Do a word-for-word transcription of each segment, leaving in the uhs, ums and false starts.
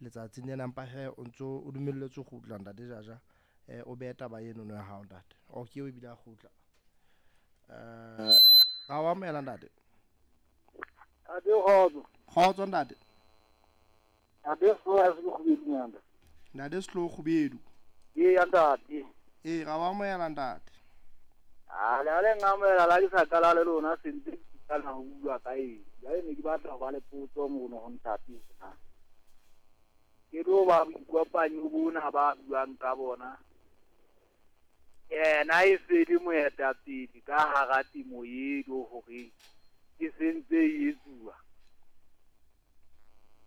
Letsatsing lena mpa he o ntso o dumelletswe ho kgutla ntate Jaja, eh o behe taba eno ya hao ntate. O ke eo ebile a kgutla. Eh ra o amohela ntate. Ntate kgotso. Kgotso ntate. Ntate Sehloho se Kgubedu nyana. Ntate Sehloho Kgubedu. Ee ntate. Ee ra o amohela ntate. Ah le le ngamela la ke sa qala le lona sentse ka na ho bua ka eng. Jwale ne ke batla ho ba le potso mono ho ntate na. Ke do ba boikopanyo bona ba buang ka bona. Yena e se le moetapele ka hara temo eno hore e sentse e etsuwa.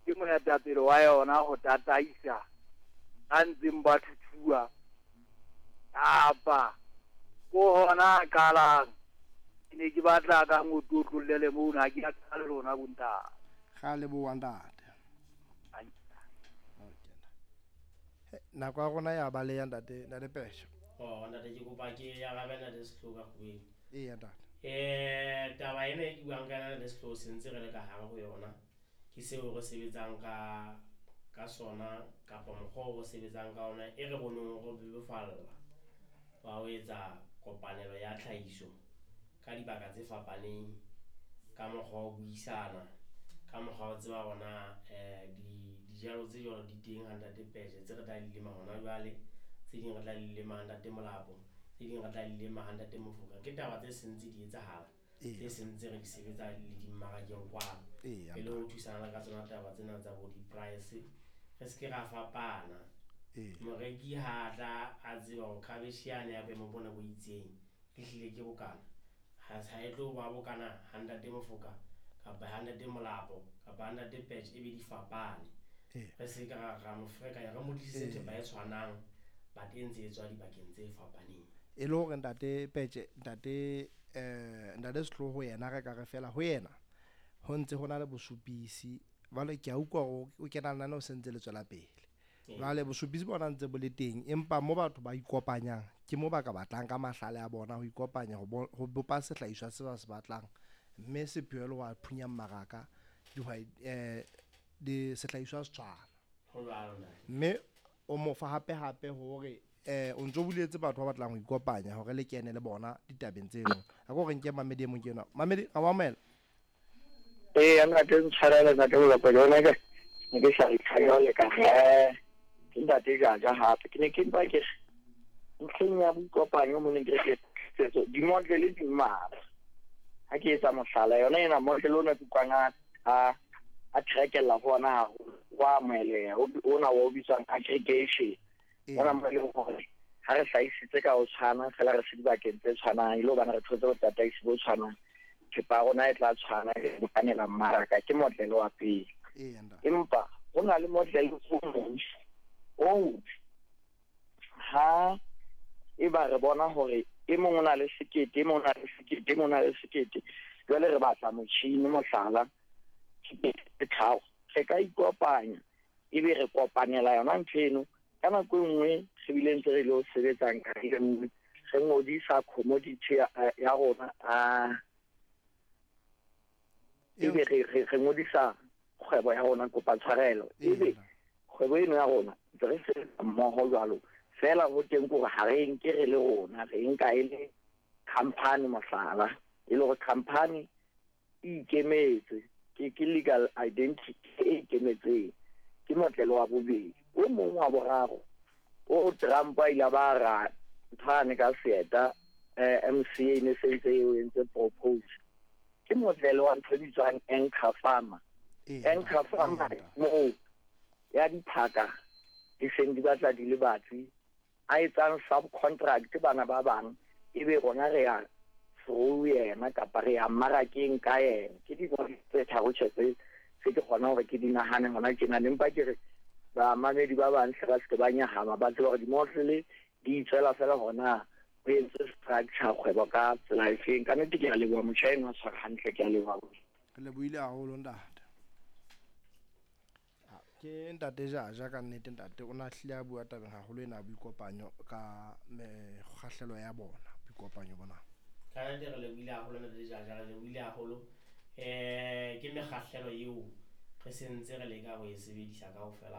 Ke moetapele wa yona ho tataisa a ntseng ba thuthuwa kapa ko hona qalang. Ke ne ke batla ka ngotlotlolele mona ke a qala lona bontate. Ra leboha ntate. Nako ya rona ya baleha ntate, ntate Pesha. Oh ntate ke kopa ke arabe ntate Sehloho ka Kgubedu. Eya ntate. Eh taba ena e ke buang ka yona ntate Sehloho sentse re le ka hare ho yona. Ke seo re sebetsang ka ka sona kapa mokgwa o re sebetsang ka ona e re boneng re bebofalla wa ho etsa kopanelo ya tlhahiso ka dibaka tse fapaneng, ka mokgwa wa ho buisana, ka mokgwa wa ho tseba hore na eh di dijalo tse jwalo di teng ha ntate Peshe tse re tla di lema hona jwale, tse ding re tla di lema ha ntate Molapo, tse ding re tla di lema ha ntate Mofoka. Ke taba tse sentse di etsahala, tse sentse re di sebetsa le dimmarakeng kwano. Eya. E le ho thusana ka tsona taba tsena tsa bo di-price, re se ke ra fapana. Eya. Moreki ha tla a tseba hore cabbage yane ya boemo bona bo itseng ehlile ke bokana, ha ha e tlo ba bokana ha ntate Mofoka kapa ha ntate Molapo kapa ha ntate Peshe e be di fapane. Eya. Re se ke ra ra mo ferekanya, re mo tlisetse Eya. thepa e tshwanang but e ntse e tswa dibakeng tse fapaneng. E le hore ntate Peshe, ntate eh ntate Sehloho yena re ka re fela ho yena ho ntse ho na le bosupisi. Jwale ke a utlwa hore o kena lenaneo se ntse le tswela pele. Jwale bosupisi bona ntse bo le teng, empa mo batho ba ikopanyang ke mo ba ka batlang ka mahlale a bona ho ikopanya ho bo, ho bopa sehlahiswa se ba se batlang, mme sepheo le ho a phunya mmaraka dihwai eh di sehlahiswa se tshwana. Ho jwalo ntate. Mme o mo fa hape hape hore eh o ntso buletse batho ba batlang ho ikopanya hore le kene le bona ditabeng tseno. A ko re nke mamedi e mong ke enwa. Mamedi, ra o amohela. Ee, ntate ntshwarele ntate Molapo, yona ke ne ke sa itlhayole ka eh ke ntate Jaja hape. Ke ne ke mpa ke re ntlheng ya boikopanyo mo ne ke re ke di-model di mmalwa. Ha ke etsa mohlala yona ena model ona ke utlwang a a a trekella ho ona haholo, wa amoheleha, ona wa o bitswang aggregation. Ona mo e leng hore ha re hlahisitse ka ho tshwana fela re se dibakeng tse tshwanang, e le hobane re thotse botataisi bo tshwanang, thepa ya rona e tla tshwana e bokanela mmaraka. Ke model wa pele. Eya ntate. Empa ho na le model o mong oo ha eba re bona hore e mong o na le sekete, e mong o na le sekete, e mong o na le sekete, jwale re batla motjhini mohlala sekete tse tharo, re ka ikopanya ebe re kopanela yona ntho eno. Ka nako e nngwe re bile ntse re lo sebetsang ka e nngwe, re ngodisa commodity ya, ya rona, a ebe re, re, re ngodisa kgwebo ya rona, kopa tshwarelo, ebe kgwebo eno ya rona ntse re sebetsa mmoho jwalo. Fela ho teng kore ha re nke re le rona, re nka e le company mohlala, e le hore company e ikemetse, ke, ke legal identity e ikemetseng. Ke motlelo wa bobedi. O mong wa boraro o Trump a ile ba ra nthwane ka seeta, eh, M C A ne se ntse e o entse propose. Ke motlelo wa ntho e bitswang anchor farmer. Anchor farmer moo ya diphaka di seng di batla di le batsi, a etsang subcontract bana ba bang, ebe rona re ya through yena kapa re ya mmarakeng ka yena. Ke dintho tse tharo tje tse tse ke kgona hore ke di nahane hona tjena. Empa ke re bamamedi ba bang hle ba se ke ba nyahama, ba tsebe hore di-model di itswela fela hona ho entse structure kgwebo ka tsela e feng. Ka nnete ke a leboha, motjha enwa o tshwara hantle, ke a leboha. Re lebohile haholo ntate. Ke ntate Jaja ka nnete ntate o na hlile a bua tabeng haholo ena ya boikopanyo ka mekgahlelo ya bona, boikopanyo bona. Ka nnete re lebohile haholo ntate Jaja, re lebohile haholo. Eh ke mekgahlelo eo re sentse re leka ho e sebedisa kaofela.